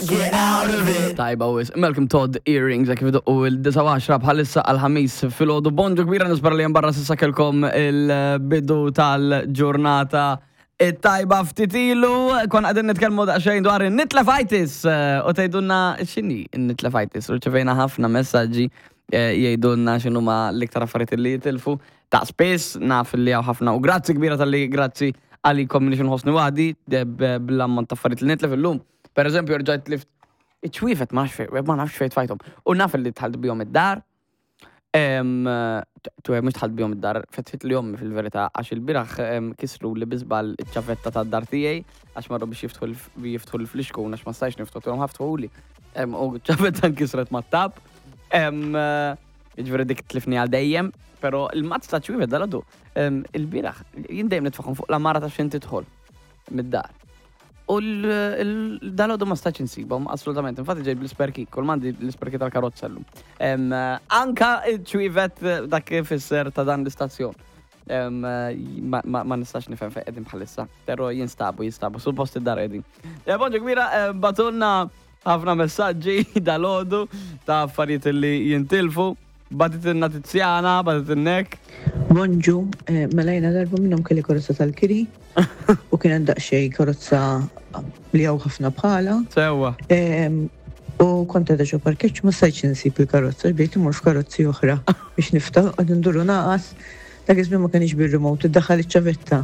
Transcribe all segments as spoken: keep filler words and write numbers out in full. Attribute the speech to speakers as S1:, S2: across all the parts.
S1: Get out of it.
S2: Tajba wis. Malcolm Todd Earrings, kif u il-disgħa u għaxra bħalissa għal-Ħamis filgħodu. Bonġu kbira, nispera li barra s'issa kellkom il-bidu tal-ġurnata it-tajba. Ftit ilu konna qegħdin nitkellmu daqsxejn dwar in-nitlefitis u tgħidulna x'inhi n-nitlefitis. U rċevejna ħafna messaġġi eh, jgħidulna x'inhuma l-iktar affarijiet li jitilfu. Ta' spiss naf li hawn ħafna u grazzi kbira talli grazzi għalikom li nħossni waħdi bl-ammont ta' affarijiet li nitlef illum. Per eżempju, rġajt tlift iċ-ċwievet, ma nafx fejn, ma nafx fejn tfajthom. U naf li dħalt bihom id-dar. Tu mhux dħalt bihom id-dar, fetħit li ommi fil-verità, għax il-bieraħ kisru li biżbal iċ-ċavetta tad-dar tiegħi għax marru biex jiftħu l- jiftħu l-flixkun għax ma stajx niftħu tuhom ħaftħuli. U ċavetta nkisret mat-tap. Ġifieri dik tlifni għal dejjem, pero il-mazz ta' ċwievet dal-għadu. Il-bieraħ, jien dejjem nitfaħħom fuq l-għamara ta' xejn tidħol mid-dar. U dal-għodu ma stax insibhom, assolutament. Infatti ġej bl-spare key, kull m'għandi l-spare key tal-karozza llum. Em, Anka ċwievet dak fisser ta' dan l-istazzjon. Em, Ma ma- ma nistax nifhem fejn qegħdin bħalissa, però jinstabu, jinstabu, suppost id-dar qegħdin. Ja, bonġu kbira, eh, bagħtulna ħafna messaġġi dal-għodu ta' affarijiet li jintilfu. Bagħtitilna Tiziana, bagħtitilna hekk.
S3: Bonġu, eh, mela jiena darba minnhom kelli karozza tal-kiri u kien hemm daqsxejn karozza li hawn ħafna bħala.
S2: Sewwa.
S3: Em, U kont għadha ġo parkeġġ, ma stajtx insib il-karozza, bdejt imur f'karozzi oħra biex niftaħ, għad nduru naqas, dak iż-żmien ma kienx bir-remote, iddaħħal iċ-ċavetta.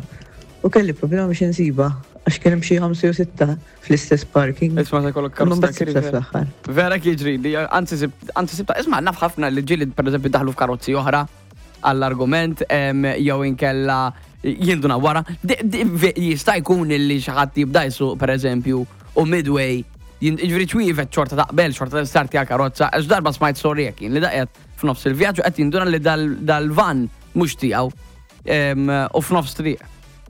S3: U kelli problema biex insiba, għax kien hemm xi ħamsa jew sitta fl-istess parking.
S2: Isma' se jkollok
S3: Imma
S2: karozza
S3: mbagħad
S2: tal-kiri.
S3: sibtha fl-aħħar.
S2: Vera jiġri, li anzi sib- anzi sibta, isma' naf ħafna li ġieli per eżempju daħlu f'karozzi oħra għall-argument, em, jew inkella jinduna wara. Di- di- ve- Jista' jkun li xi ħadd jibda jsuq per eżempju u midway jin- Ġifieri ċwievet xorta taqbel, xorta starti għal karozza, għax darba smajt storja kien li daqet f'nofs il-vjaġġ qed jinduna li dal- dal-van mhux tiegħu em, u f'nofs triq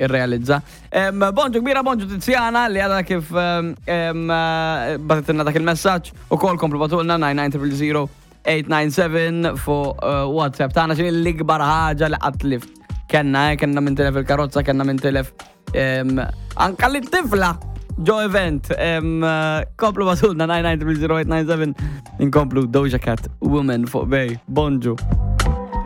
S2: irrealizza. Em, Bonġu kbira, bonġu Tiziana li għadha kif em, em, eh, bagħtitilna dak il-messaġġ u kol komplu bagħtulna nine nine zero zero eight nine seven fuq eh, WhatsApp tagħna x'inhi l-ikbar ħaġa li qatt tlift. Kenna, eh, kenna minn tilef il-karozza, kenna minn tilef em, anka li tifla ġo event. Em, eh, Komplu bagħtulna nine nine zero zero eight nine seven, inkomplu Doja Cat, Woman fuq Bay. Bonġu.